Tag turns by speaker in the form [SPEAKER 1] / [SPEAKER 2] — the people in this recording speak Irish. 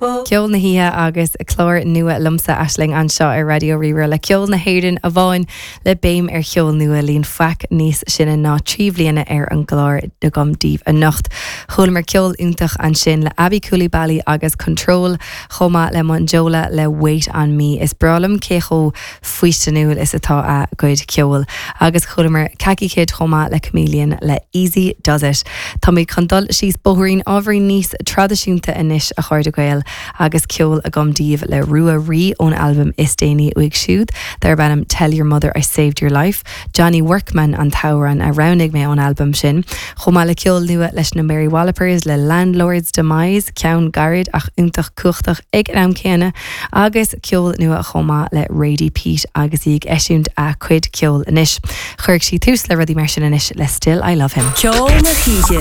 [SPEAKER 1] Ceol na hOíche agus clár nua liomsa, Aisling, anseo ar Raidió Rí-Rá le ceol na hÉireann amháin le béim ar cheol nua, líon faic níos sine ná 3 bhliana ar an gclár agam daoibh anocht. Chualamar ceol iontach ansin le Aby Coulibaly agus Control chomh maith le Monjola le Wait On Me. Is breá liom cé chomh faoistineúil is atá a gcuid ceoil. Agus chualamar Khaki Kid chomh maith le Chameleon le Easy Does It. Táimid chun dul síos bóithrín ábhairín níos traidisiúnta anois, a chairde Gael, agus ceol agam daoibh le Rua Rí ón albam is déanaí uaidh siúd, darb ainm Tell Your Mother I Saved Your Life. Johnny Workman an t-amhrán a roghnaigh mé ón albam sin, chomh maith le ceol nua leis na Mary Wallopers le Landlord's Demise, ceann gairid ach iontach cumhachtach ag an am céanna. Agus ceol nua chomh maith le Radie Peat agus í ag eisiúint a cuid ceoil anois. Chuirfidh sí tús le rudaí mar sin anois le Still I Love Him.
[SPEAKER 2] Ceol na hOíche.